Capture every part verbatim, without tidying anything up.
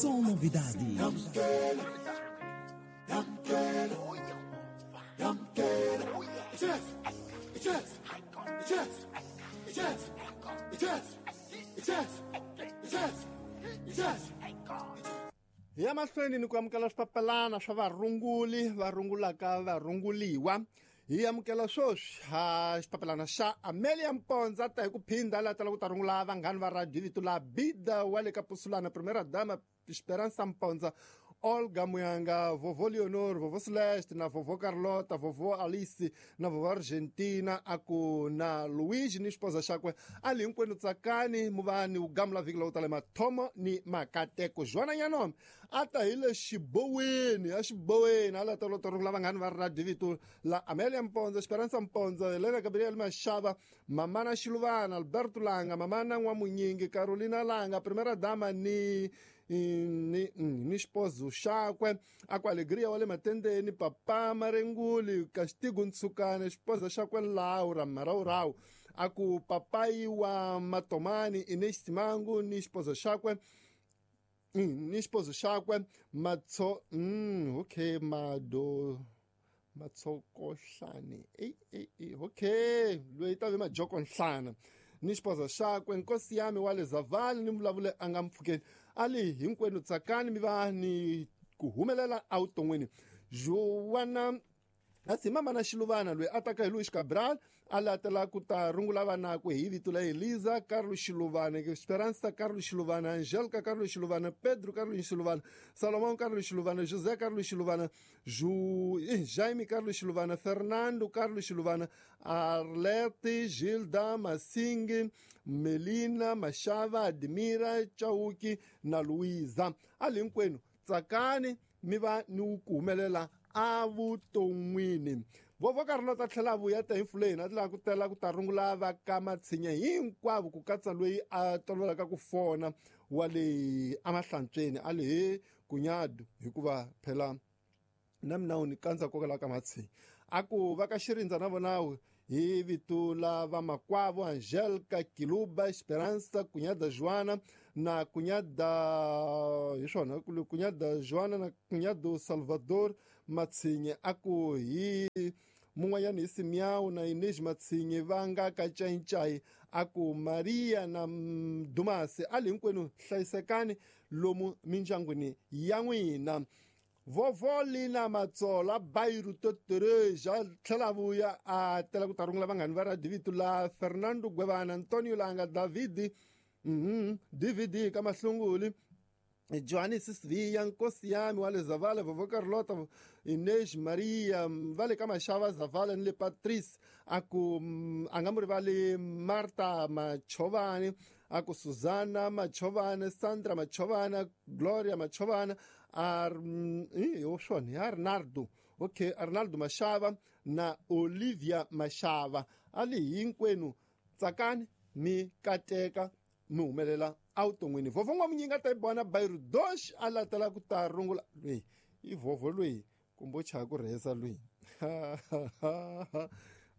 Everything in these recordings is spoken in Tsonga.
Só novidade. Hi ya mahlweni ni ku amukela swipapalana swa varunguli va rungulaka varunguliwa. Hi amukela sweswi ha xipapalana xa Amelia Mponza ta hi ku phinda la tala ku ta rungula vanghani va radio vito la Bida wa le ka Pusulana, Primera Dama Esperança Mponza, Olga Muyanga, Vovó Leonor, Vovó Celeste, na Vovó Carlota, Vovó Alice, na Vovó Argentina, aku na Luigi ni esposa xakwe ali hinkwenu tsakani muvani u gamula vhiki lowu tala mathomo ni makateko. Joana Nyanome a ta hi le xiboweni a xiboweni a la ta lota rungula vanghani va radio vito la Amelia Mponza, Esperança Mponza, Helena Gabriel Mashava, Mamana Xiluvana, Alberto Langa, Mamana N'wamunyingi, Carolina Langa, Primera Dama ni ni ni esposo xakwe, aku Alegria wa le Matendeni, Papa Marenguli, Castigo Ntsukane, esposa xakwe Laura Maraurau, aku papai wa Matomani, Inês Simango, ni esposa xakwe, ni esposo xakwe Matso, mm, okay, Mado Matsokohlane, ei ei ei, okay, loyi ta ve Majokonhlana, ni esposa xakwe Nkosi yami wa le Zavali ni vulavule a nga mpfukeni ali hinkwenu tsakani mi va ni ku humelela evuton'wini. Joana asi mama na Xiluvana loyi a taka hi Luis Cabral a latela ku ta rungula vanakwe hi vito la Elisa Carlos Xiluvana, Esperança Carlos Xiluvana, Angélica Carlos Xiluvana, Pedro Carlos Xiluvana, Salomão Carlos Xiluvana, José Carlos Xiluvana, Ju... Jaime Carlos Xiluvana, Fernando Carlos Xiluvana, Arlete, Gilda, Massing, Melina, Machava, Admira, Chauki na Luísa. Ali hinkwenu tsakani mi va ni ku humelela evuton'wini. Vovó Carlota tlhela vuya ta hi mfuleni a tlhela ku tela ku ta rungula va ka Matshinya hinkwavo ku katsa loyi a tolovelaka ku fona wa le emahlantsweni a le he kunyadu hikuva phela na mina u ni kandza kokela ka Matshinya. A ku va ka Xirindza na vona hi vito la vamakwavo Angelica Kiluba, Esperança, Cunhada Joana na Cunhada hi swona Cunhada Joana na Cunhado Salvador Matsinye, a ku hi mun'wanyana hi Simiao na Inês Matsinye va nga ka Cayicayi, a ku Maria na Dumasi ali hinkwenu hlayisekani lomu mindyangwini ya n'wina. Vovó Lina Matsola Bairu Totereja tlhela vuya a tela ku ta rungula vanghani va radio vito la Fernando Gwevana, Antonio Langa, David mm D V D ka Mahlunguli, Johannes Sivia, Nkosi yami wa le Zavala, Vovó Carlota, Inês Maria, va le ka Mashava Zavala ni le Patrice, a ku a nga mu rivali Marta Machovani, a ku Susana Machovani, Sandra Machovana, Gloria Machovana, Ar yo swona Arnaldo, okay, Arnaldo Mashava na Olivia Mashava. Ali hinkwenu tsakani mi kateka mi humelela evuton'wini. Vovó N'wamunyinga ta yi vona Bairu Dosh a latela ku ta rungula loyi i vovó loyi kumbe u chaya ku rhesa loyi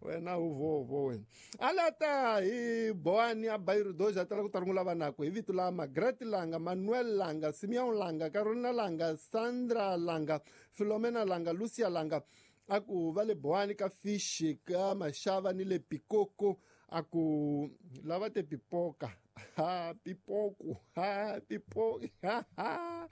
wena u vovo wena a lata hi Boani a Bairu Dosh a tala ku ta rungula vanakwe hi vito la Margaret Langa, Manuel Langa, Simeon Langa, Carolina Langa, Sandra Langa, Filomena Langa, Lucia Langa, a ku va le Boani ka Fishi ka Mashava ni le Pikoko, a ku lava te pipoka ha pipoku ha pipo ha ha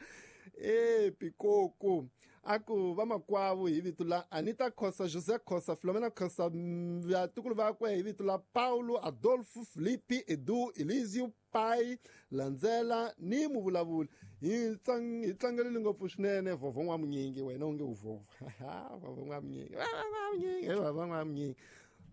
e pikoko, a ku vamakwavo hi vito la Anita Khosa, José Khosa, Filomena Khosa, vatukulu vakwe hi vito la Paulo, Adolfo, Felipe, Edu, Elísio, Pai, Landzela ni muvulavuli. Hi hi tlangelile ngopfu swinene Vovó N'wamunyingi, wena u nge u vovo Vovó N'wamunyingi, N'wamunyingi, Vovó N'wamunyingi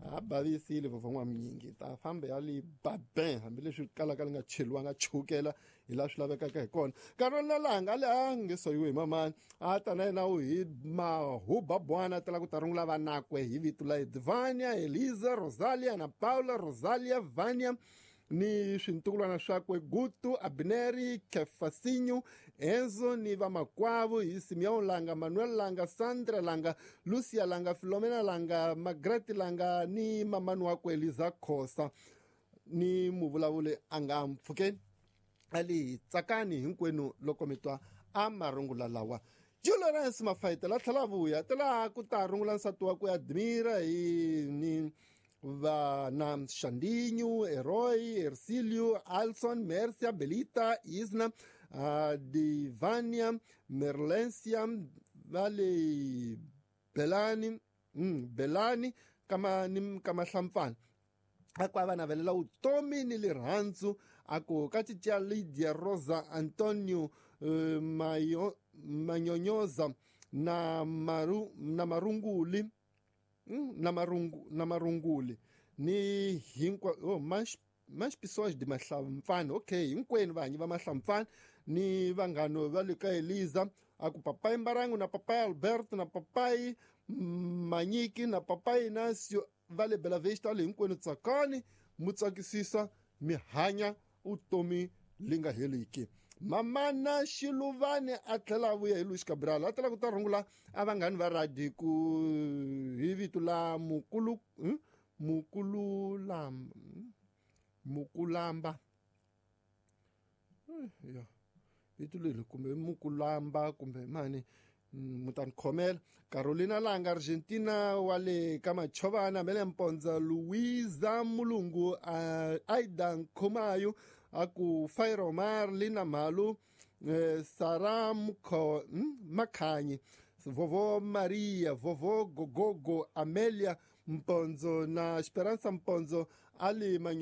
a bavisile Vovó N'wamunyingi ta famba ya le babin hambileswi kalaka li nga cheliwanga chukela hi laha swi lavekaka hi kona. Carolina Langa le a nge soyiwe hi mamani a ta na yena u hi mahuba bwana a tala ku ta rungula vanakwe hi vito la Edvania, Elisa, Rosalia na Paula, Rosalia, Vania ni swintukulwana swakwe Gutu, Abneri, Kefasinho, Enzo ni vamakwavo hi Simeon Langa, Manuel Langa, Sandra Langa, Lucia Langa, Filomena Langa, Margaret Langa ni mamani wakwe Eliza Khosa ni muvulavuli a nga mpfukeni. Ali tsakani hinkwenu loko mi twa a marungula lawa. Lawrence Mafayita la tlhela vuya tela ku ta rungula nsati wa ku Admira hi ni vana Xandinho, Eroy, Ercilio, Alson, Mercia, Belita, Isna, uh, Divania, Merlencia, Vale Belani, mm, Belani kama ni kama hlampfana. A ku a va navelela vutomi ni rirhandzu a ku ka cica Lydia Rosa Antonio uh, Mayo, Manyonyoza na maru na marunguli mm, na marungu na marunguli ni hinkwa oh mas mas pessoas de Mahlampfana okay hinkwenu vanyi va Mahlampfana ni vanghano va le ka Eliza a ku papai Mbarangu na papai Alberto na papai Manyiki na papai Inácio va le Bela Vista le hinkwenu tsakani mu tsakisisa mi hanya vutomi li nga heliki. Mamana Xiluvani a tlhela a vuya hi Luis Cabral a tlhela ku ta rungula a vanghani va radi ku hi vito la mukulu hmm? Mukululamba Mukulamba ya vito leri kumbe Mukulamba kumbe mani mutani khomela Carolina Langa Argentina wa le ka Machovana Mele Mponza Luisa Mulungu uh, Aida Nkhomayo a ku Fairomar Lina Malu eh, Sara Mkho, hmm? Makhanyi Vovo Maria Vovo Gogogo Amelia Mponzo na Esperança Mponzo ali Manyo